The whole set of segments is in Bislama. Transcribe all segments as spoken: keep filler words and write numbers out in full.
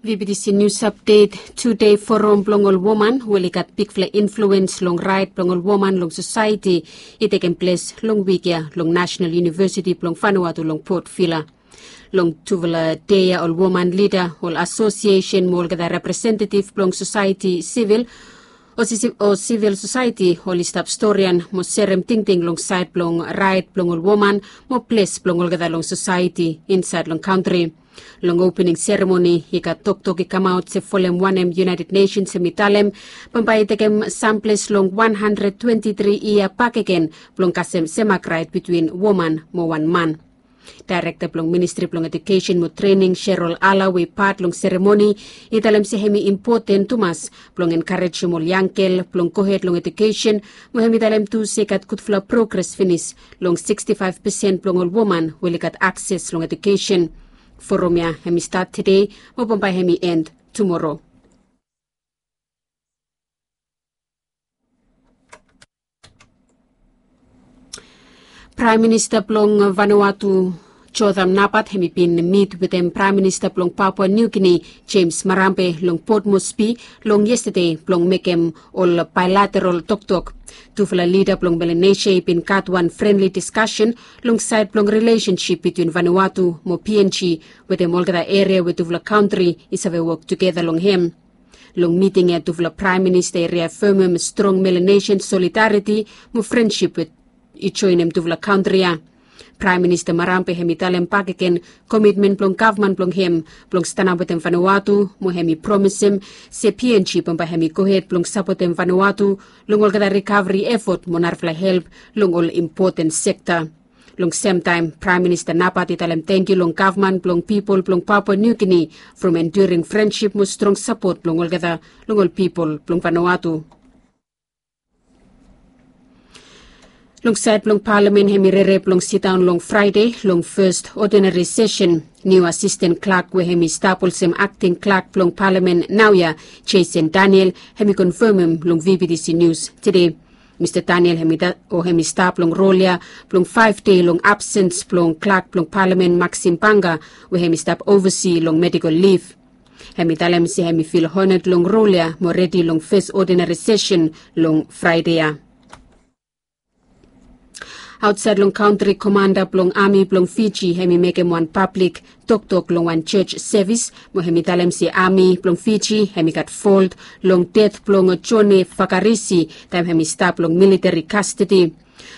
V B T C News Update. Tude forum blong ol woman we oli gat bigfala influens long raet blong ol woman long sosaeti i tekem ples long wik ya long National University blong Vanuatu long Port Vila. Long tufala dei ya ol woman lida, ol asosiesen mo olgeta representetif blong sosaeti sivil o sivil sosaeti oli stap storian mo serem tingting long saed blong raet blong ol woman mo ples blong olgeta long sosaeti insaed long kantri. Long opening seremoni i gat toktok i kamaot se folem wanem United Nations hem i talem bambae i tekem samples long wan handred twenti tri yia bakegen blong kasem semak raet bitwin woman mo wan man. Daerekta blong Ministri blong Ejukesen mo Trening, Sherol Ala, we i pat long seremoni i talem se hem i impoten tumas blong enkarejem ol yanggel blong gohed long ejukesen, mo hem i talem tu se i gat gudfala progres finis long sikstifaef pesen blong ol woman we oli gat akses long ejukesen. Forum ya hem i stat tude mo bambae hem i end tumoro. Praem Minista blong Vanuatu, Jotham Napat, hem i bin mit wetem Praem Minista blong Papua New Guinea, James Marape, long Port Moresby long yestade blong mekem ol baelateral toktok. Tufala lida blong Melanesia i bin gat wan frenli diskasen long saed blong rilesensip bitwin Vanuatu mo P N G wetem olgeta eria we tufala kantri i save wok tugeta long hem. Long miting ya tufala Praem Minista i riafemem strong Melanesian solidariti mo frensip we i joenem tufala kantri ya. Praem Minista Marape hem i talem bakegen komitmen blong gavman blong hem blong stanap wetem Vanuatu, mo hem i promisem se P N G bambae hem i gohed blong sapotem Vanuatu long olgeta rikaveri efot mo narafala help long ol impoten sekta. Long semtaem, Praem Minista Napat i talem tangkiu long gavman blong pipol blong Papua New Guinea from enduring frensip mo strong sapot blong olgeta long ol pipol blong Vanuatu. Long saed blong palamen, hem i rere blong sidaon long Fraede long fes odinari sesen. Niu asisten klak we hem i stap olsem akting klak blong palamen naoia, Jason Daniel, hem i konfemem long V B T C Nius tude. Mista Daniel hem i stap long rol ya blong faef dei long absens blong klak blong palamen Maxim Banga, we hem i stap ovasi long medikol lif. Hem i talem se hem i fil honad long rol ya mo redi long fes odinari sesen long Fraede ya. Aotsaed long kantri, komanda blong ami blong Fiji hem i mekem wan pablik toktok long wan jos sevis, mo hem i talem se ami blong Fiji hem i gat folt long ded blong Jone Fakarisi taem hem i stap long militari kastedi.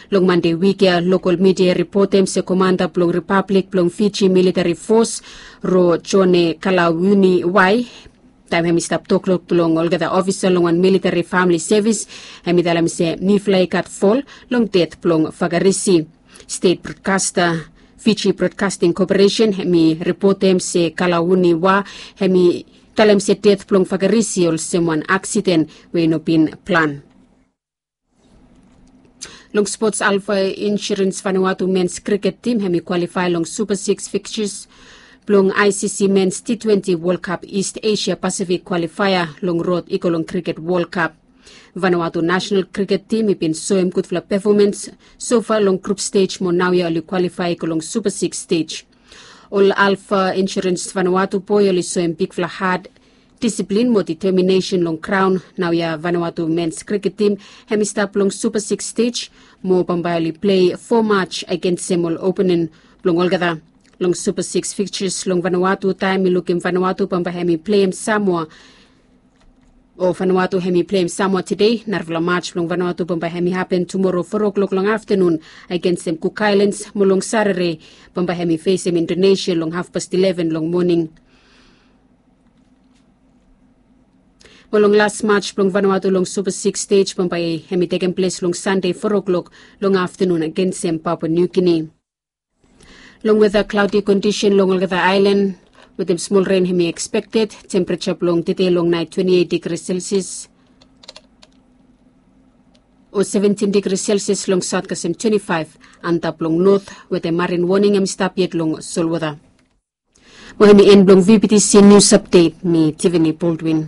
Long Mande wik ya, lokol midia i ripotem se komanda blong Ripablik blong Fiji militari fos, Ro Jone Kalawuni Wai, taem hem i stap toktok blong olgeta ofisa long wan militari famili sevis, hem i talem se mifala i gat fol long ded blong Fakarisi. Stet brodkasta, Fiji Broadcasting Corporation, hem i ripotem se Kalawuni Wai hem i talem se ded blong Fakarisi olsem wan aksiden we i no bin plan. Long spots, Alpha Insurance Vanuatu mens kriket tim hem i kwalifae long Super Six fiksus blong I C C mens T twenty World Cup East Asia Pacific kwalifaea long rod i go long kriket World Cup. Vanuatu nasenal kriket tim i bin soem gudfala pefomans sofa long grup stej mo naoia oli kwalifae i go long Super Six stej. Ol Alpha Insurance Vanuatu boe oli soem bigfala had disiplin mo diteminesen long graon. Naoia Vanuatu mens kriket tim hem i stap long Super Six stej mo bambae oli plei fo mats agensem ol oponen blong olgeta. Long Super Six fiksus long Vanuatu, taem i lukim Vanuatu bambae hem i pleim Samoa o Vanuatu hem i pleim Samoa tude. Narafala mats blong Vanuatu bambae hem i hapen tumoro fo oklok long aftanun agensem Cook Islands, mo long Sarere bambae hem i fesem Indonesia long hafpast ileven long moning. Mo long las mats blong Vanuatu long Super Six stej bambae hem i tekem ples long Sande fo oklok long aftanun agensem Papua New Guinea. Long weta, klaodi kondisen long olgeta aelan wetem smol ren hem i ekspekted. Tempereja blong tude long naet twenti eit digri Celsius o seventin digri Celsius long saot kasem twenti faef antap long not, wetem marin woning hem i stap yet long solwota. Mo hem i en blong V B T C Nius Apdet. Mi Tiffany Baldwin.